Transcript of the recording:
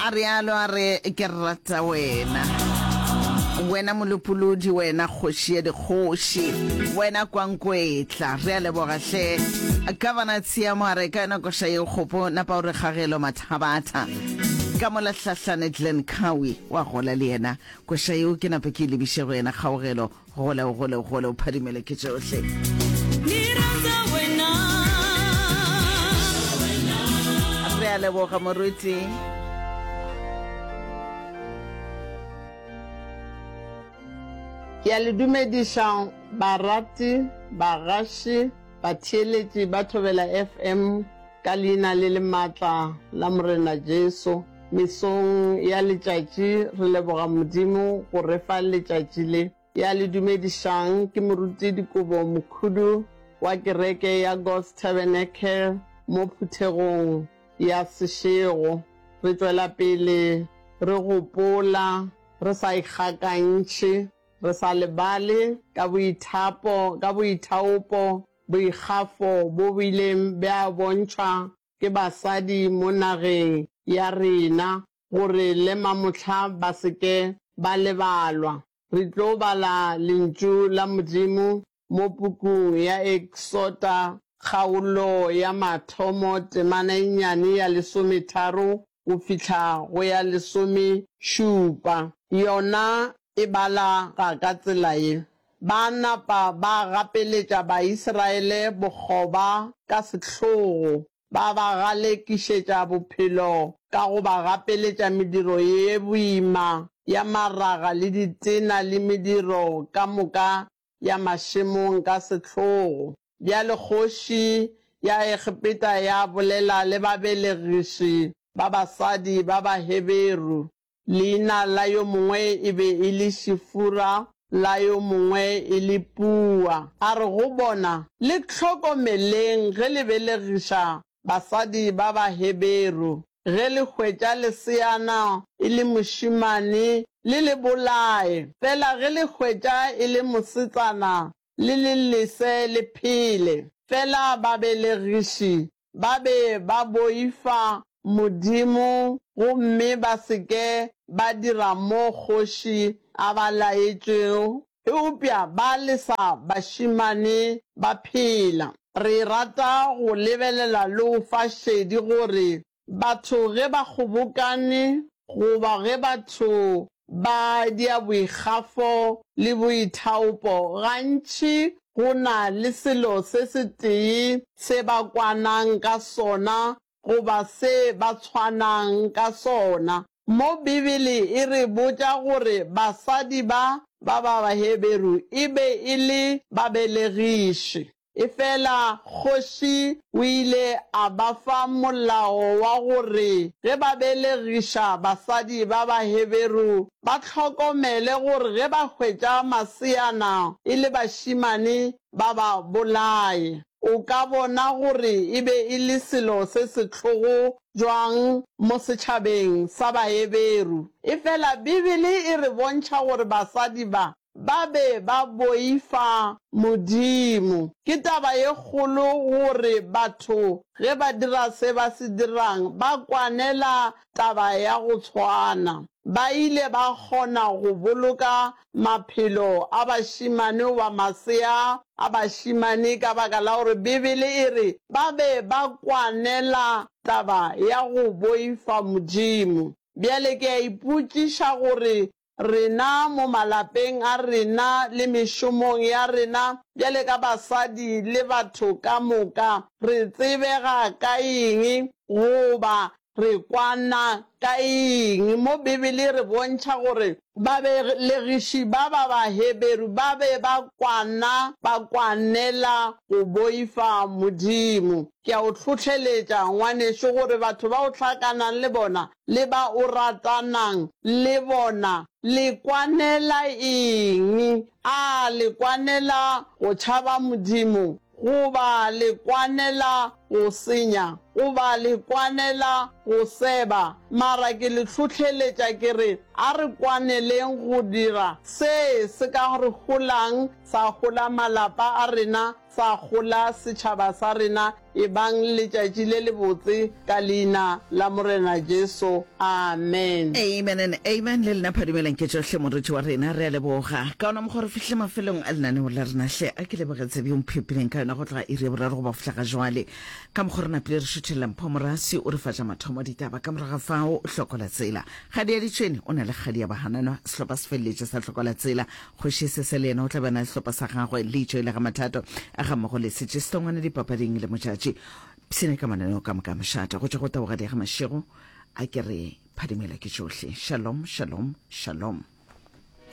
A realo a re, Ke rata wena. Wena Molopolodi, wena Kgoši ya dikgoši, wena Kwankwetla. Re a leboga hle. Governor Tshiamo a re, Ka yona koša yeo kgopo, napa o re Kgagelo Mathabatha. Ka mola Hlahlane Glen Cowie wa gola le yena. Koša yeo ke nape ke e lebiše go yena Kgaogelo. Gole o gole o gole o phadimele ke tšohle. Re a leboga moruti. Ke a le dumediša barati, bagaši, batheeletši ba Thobela FM ka leina le le maatla la Morena Jesu. Mesong ya letšatši re leboga Modimo go re fa letšatši le. Ya le dumedišang ke Moruti Dikobo Mokhudu wa kereke ya God's Tabernacle mo phuthegong ya Seshego. Re tšwela pele re gopola re sa ikgakantšhe, re sa lebale ka boithapo, ka boithaopo, boikgafo bo bo ileng bja bontšhwa ke basadi mo nageng ya rena gore le mamohla ba se ke ba lebalwa. Re tlo bala Lentšu la Modimo mo pukung ya Eksota kgaolo ya mathomo temana e nnyane ya lesometharo go fihla go ya lesomešupa. Yona e balega ka tsela ye, Ba napa ba gapeletša Baisraele bokgoba ka sehlogo, ba ba galekišetša bophelo ka go ba gapeletša mediro ye boima ya maraga le ditena le mediro ka moka ya mašemong ka sehlogo. Bjale kgoši ya Egepeta ya bolela le babelegiši ba basadi ba Baheberu, Leina la yo mongwe e be e le Šifura, la yo mongwe e le Pua. A re go bona, Le hlokomeleng ge le belegiša basadi ba Baheberu. Ge le hwetša leseana e le mošemane, le le bolaye. Fela ge le hwetša e le mosetsana, le le lese le phele. Fela babelegiši Ba be ba boifa Modimo gomme ba se ke ba dira mo kgoši a ba laetšego, eupša ba lesa bašemane ba phela. Re rata go lebelela le go fa šedi gore batho ge ba kgobokane goba ge batho ba dia boikgafo le boithaopo, gantši go na le selo se setee se ba kwanang ka sona goba se ba tshwanang ka sona. Mo Bibele e re botša gore basadi ba ba ba Baheberu e be e le babelegiši. Efela kgoši o ile a ba fa molao wa gore ge ba belegiša basadi ba Baheberu, ba hlokomele gore ge ba hwetša maseana e le bašemane ba ba bolaye. O ka bona gore e be e le selo se sehlogo bjang mo setšhabeng sa Baheberu. Efela Bibele e re bontšha gore basadi ba Ba be ba boifa Modimo. Ke taba ye kgolo gore batho ge ba dira se ba se dirang ba kwanela taba ya go tshwana. Ba ile ba kgona go boloka maphelo a bašemane goba masea a bašemane ka baka la gore Bibele e re ba be ba kwanela taba ya go boifa Modimo. Bjale ke a ipotšiša gore Rena mo malapeng a rena le mešomong ya rena bjale ka basadi le batho ka moka, re tsebega ka eng goba re kwana ka eng? Mo Bibele e re bontšha gore babelegiši ba ba Baheberu ba be ba kwana, ba kwanela go boifa Modimo. Ke a o hlohleletša, ngwanešu, gore batho ba o hlakanang le bona le ba o ratanang le bona, le kwanela eng? A le kwanela go tšhaba Modimo, goba le kwanela go senya, goba le kwanela go seba, mara ke le hlohleletša ke re a re kwaneleng go dira se se ka re holang, sa hola malapa a rena, sa hola setšhaba sa rena. Ebang le letšatši le lebotse ka Leina la Morena Jesu. Amen. Amen and amen. Le lena phadimelang ke tšohle moruti wa rena. Re a leboga. Ka ona mokgwa re fihlile mafelong a lenaneo la rena hle. A ke leboge tsebe yo mphepileng ka yona go tloga iri ya boraro go ba fihla ga jwale. Ka mokgwa re napile re šuthelela Mpho Morasi o re fa tša mathomo ditaba ka morago ga fao Hlokola Tsela. Kgadi ya Ditšhwene o na le kgadi ya Bahananwa sehlopha se feleletše sa Hlokola Tsela. Kgoši Sese le yena o tla be a na le sehlopha sa gagwe Leitšo e le ga Mathato a gammogo le Setše Setongwane dipapading le Motšatši. Pshine ka mananeo ka moka a mošate go tšwa go Taugadi ya ga Mašego a ke re phadimela ke tšohle. Shalom, shalom, shalom.